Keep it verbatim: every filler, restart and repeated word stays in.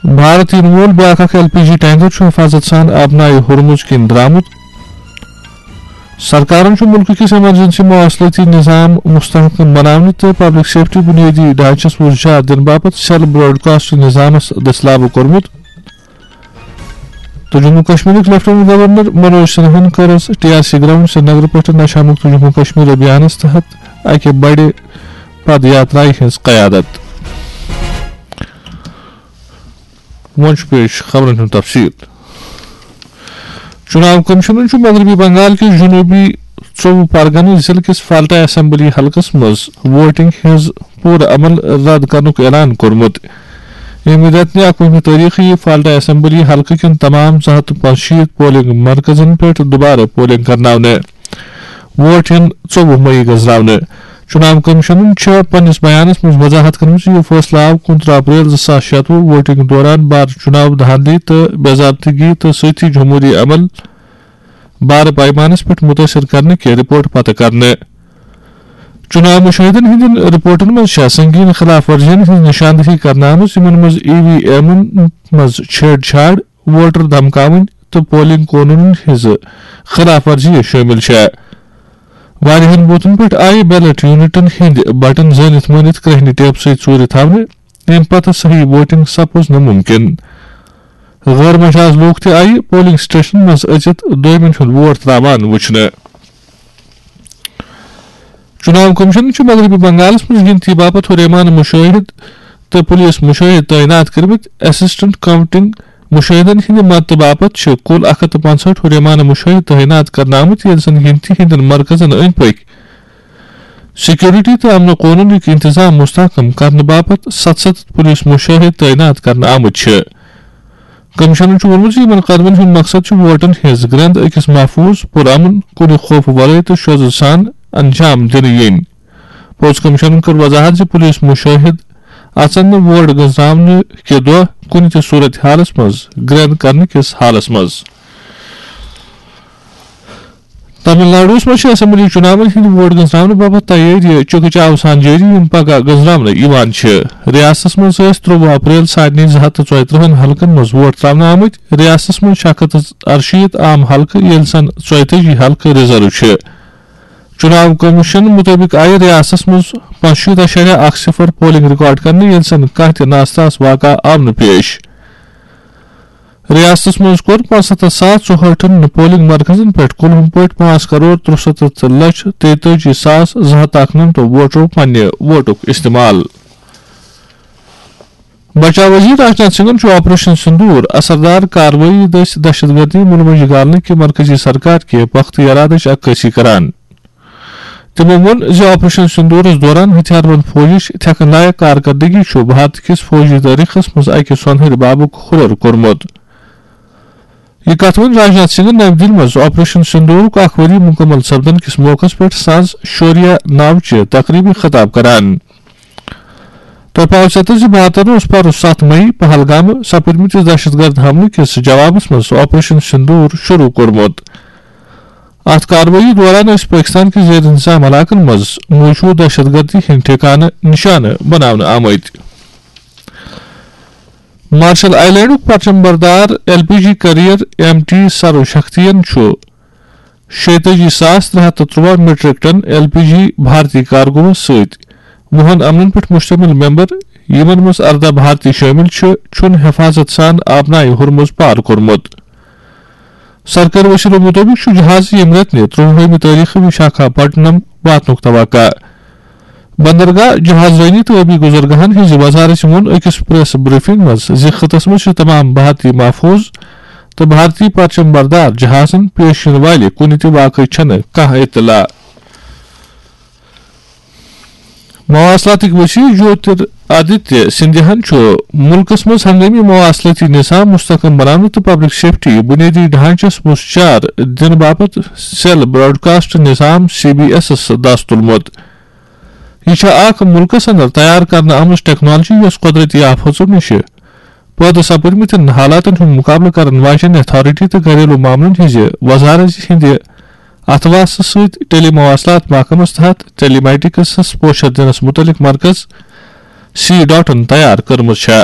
بھارت یِنہٕ وول بیٛاکھ اکھ ایل پی جی ٹینکر چھُ حفاظت سان آبنایہِ ہرمز کِنۍ درٛامُت۔ سرکارن چھُ مُلکہٕ کِس ایمرجنسی مواصلٲتی نظام مستحکم بناونہٕ تہٕ پبلک سیفٹی بنیٲدی ڈھانچس وُژھ جار دِنہٕ باپتھ سیل براڈکاسٹ نظامس دٔسۍ لاگو کوٚرمُت۔ تہٕ جموں کشمیرٕکۍ لیفٹیننٹ گورنر منوج سنہاہن کٔر T R C ground Srinagar پٮ۪ٹھ نشہ مکت جموں کشمیر ابھیانس تحت اکہِ بڑِ پد یاترایہِ ہٕنٛز قیادت۔ وۄنۍ چھُ پیش خبرن ہُنٛد تفصیل۔ چُناو کمیشنن چھُ مغربی بنگال کِس جنوٗبی ژوٚوُہ پرگنہٕ ضلعہٕ کِس فالٹا اسمبلی حلقس منٛز ووٹنگ ہٕنٛز پوٗرٕ عمل رد کرنُک اعلان کوٚرمُت۔ ییٚمہِ رٮ۪تہٕ نہِ اَکوُہمہِ تٲریخہٕ یِیہِ فالٹا اسمبلی حلقہٕ کٮ۪ن تمام زٕ ہتھ تہٕ پانٛژشیٖتھ پولنگ مرکزن پٮ۪ٹھ دُبارٕ پولنگ کرناونہٕ۔ ووٹ یِن ژوٚوُہ مئی گٔنزراونہٕ۔ چُناو کمیشنن چھےٚ پننِس بیانس منٛز وضاحت کٔرمٕژ زِ یہِ فٲصلہٕ آو کُنترٕہ اپریل زٕ ساس شیٚتوُہ ووٹنگ دوران بار چُناو دھاندلی تہٕ بے ضابطگی تہٕ سۭتۍ جمہوٗری عمل بارٕ پیمانس پٮ۪ٹھ مُتٲثر کرنہٕ کہِ رپورٹ پتہٕ کرنہٕ۔ چُناو مُشٲہدن ہٕنٛدٮ۪ن رپورٹن منٛز چھےٚ سنگین خلاف ورزین ہٕنٛز نشاندہی کرنہٕ آمٕژ، یِمن منٛز ای وی ایمن منٛز چھیڑ چھاڑ، ووٹر دھمکاوٕنۍ تہٕ پولنگ قونوٗنن ہٕنٛز خلاف ورزی شٲمِل چھےٚ۔ واریاہن بوتھن پٮ۪ٹھ آیہِ بیلٹ یونٹن ہٕنٛدۍ بٹن زٲنِتھ مٲنِتھ کرٛہنہِ ٹیپ سۭتۍ ژوٗرِ تھاونہٕ، ییٚمہِ پتہٕ صحیح ووٹنگ سپٕز نہٕ مُمکِن۔ غٲر مجاز لوٗکھ تہِ آیہِ پولنگ سٹیشنن منٛز أژِتھ دویمٮ۪ن ہُنٛد ووٹ ترٛاوان وُچھنہٕ۔ چُناو کمیشن چھُ مغربی بنگالس منٛز گِنتی باپتھ ہُریمان مُشٲہِد تہٕ پُلیٖس مُشٲہِد تعینات کٔرمٕتۍ۔ اسسٹنٹ کاؤنٹنگ مُشٲہِدن ہٕنٛدِ مدتہٕ باپتھ چھِ کُل اکھ ہتھ تہٕ پنٛژہٲٹھ ہُریمان مُشٲہِد تعینات کرنہٕ آمٕتۍ، ییٚلہِ زن گِنتی ہٕنٛدٮ۪ن مرکزن أنٛدۍ پٔکۍ سیکورٹی تہٕ امن و قونوٗنٕکۍ انتظام مستحکم کرنہٕ باپتھ ستھ ستھ پُلیٖس مُشٲہِد تعینات کرنہٕ آمٕتۍ چھِ۔ کمیشنن چھُ ووٚنمُت زِ یِمَن قدمَن ہُنٛد مقصد چھُ ووٹَن ہٕنٛز گرٛٮ۪نٛد أکِس محفوٗظ، پُرامن، کُنہِ خوفہٕ ورٲے تہٕ شوزٕ سان انجام دِنہٕ یِنۍ۔ پولیس کمیشنن کٔر وضاحت زِ پُلیٖس مُشٲہِد اژن نہٕ ووٹ گٔنزراونہٕ کہِ دۄہ کُنہِ تہِ صورت حالس منٛز گرٛٮ۪نٛد کرنہٕ کِس حالس منٛز۔ تامل ناڈوَس منٛز چھِ اسمبلی چُناون ہٕنٛدۍ ووٹ گٔنزراونہٕ باپتھ تیٲری چُکہٕ چاو سان جٲری، یِم پگاہ گٔنزراونہٕ یِوان چھِ۔ ریاستس منٛز ٲسۍ ترٛۆوُہ اپریل سارنٕے زٕ ہتھ تہٕ ژۄیہِ ترٕٛہن حلقن منٛز ووٹ ترٛاونہٕ آمٕتۍ۔ ریاستس منٛز چھِ اکھ ہتھ تہٕ ارشیٖتھ عام حلقہٕ، ییٚلہِ زن ژۄیتٲجی حلقہٕ ریزرو چھِ۔ چُناو کمیشن مُطٲبِق آیہِ ریاستس منٛز پانٛژشیٖتھ اَشاریہ اکھ صفر پولنگ ریکارڈ کرنہٕ، ییٚلہِ زن کانٛہہ تہِ ناساز واقعہٕ آو نہٕ پیش۔ ریاستس منٛز کوٚر پانٛژستتھ ساس ژُہٲٹھن پولنگ مرکزن پٮ۪ٹھ کُلہُم پٲٹھۍ پانٛژھ کرور ترُسَتتھ لچھ تیتٲجی ساس زٕ ہتھ اکھ نمتو ووٹرو پننہِ ووٹُک استعمال۔ بچاو وزیر راجناتھ سنگھن چھُ آپریشن سندور اثردار کاروٲیی دٔسۍ دہشت گردی مُلمج گالنہٕ کہِ مرکزی سرکار کہِ پختہٕ ارادٕچ عکٲسی کران۔ تِمو ووٚن زِ آپریشن سندورس دوران ہتھیار بند فوجٕچ تھٮ۪کن لایق کارکردگی چھُ بھارت کِس فوجی تٲریخس منٛز اکہِ سۄنہٕرۍ بابُک ہُرٮ۪ر کوٚرمُت۔ یہِ کتھ ووٚن راجناتھ سنگھن نَوِ دِلہِ منٛز آپریشن سندورُک اکھ ؤری مُکمل سپدن کِس موقعس پٮ۪ٹھ سانز شوریا ناوچہِ تقریبہِ خطاب کران۔ تۄہہِ پاوٕ ژیتر زِ بھارتن اوس پرُس ستھ مئی پہلگامہٕ سپٕدمٕتِس دہشت گرد حملہٕ کِس جوابس منٛز آپریشن سندور شروع کوٚرمُت۔ اتھ کاروٲیی دوران ٲسۍ پٲکستان کِس زیر انتظام علاقن منٛز موجود دہشت گردی ہٕنٛدۍ ٹھکانہٕ نشانہٕ بناونہٕ آمٕتۍ۔ مارشل آیلینڈُک پرچم بردار ایل پی جی کیریئر ایم ٹی سرو شکتین چھُ شیٚتٲجی ساس ترٛےٚ ہتھ تہٕ ترٛواہ میٹرک ٹن ایل پی جی بھارتی کارگوہس سۭتۍ وُہن عملن پٮ۪ٹھ مشتمل ممبر، یِمن منٛز ارداہ بھارتی شٲمِل چھِ، چھُن حفاظت سان آبنائے ہرمز پار کوٚرمُت۔ سرکٲرۍ وسیلو مُطٲبِق چھُ جہاز ییٚمہِ رٮ۪تہٕ نہِ ترٛۆوُہمہِ تٲریخہٕ وشاکھا پٹنم واتنُک توقع۔ بندرگاہ، جہاز رٲنی تہٕ ٲبی گزرگاہن ہٕنٛزِ وزارتہِ ووٚن أکِس پریس بریفنگ منٛز زِ خطس منٛز چھِ تمام بھارتی محفوظ تہٕ بھارتی پرچم بردار جہازن پیش یِنہٕ والہِ کُنہِ تہِ واقعٕچ چھنہٕ کانٛہہ اطلاع۔ مواصلاتٕکۍ وزیر جیوتر آدتیہ سندھیاہن چھُ مُلکس منٛز ہنگٲمی مواصلٲتی نظام مستحکم بناونہٕ تہٕ پبلک سیفٹی بنیٲدی ڈھانچس مُژ چار دِنہٕ باپتھ سیل براڈکاسٹ نظام سی بی ایسس دس تُلمُت۔ یہِ چھےٚ اکھ مُلکس اندر تیار کرنہٕ آمٕژ ٹیکنالوجی، یۄس قۄدرٔتی آفژو نِش پٲدٕ سپٕدمٕتٮ۪ن حالاتن ہُنٛد مُقابلہٕ کرن واجٮ۪ن اتھارٹی تہٕ گھریلو معاملن ہٕنٛزِ وزارت ہٕنٛدِ اتھواسہٕ سۭتۍ ٹیلی مواصلات محکمس تحت ٹیلی میٹکسس پوچھر دِنس مُتعلق مرکز سی ڈاٹن تیار کٔرمٕژ چھےٚ۔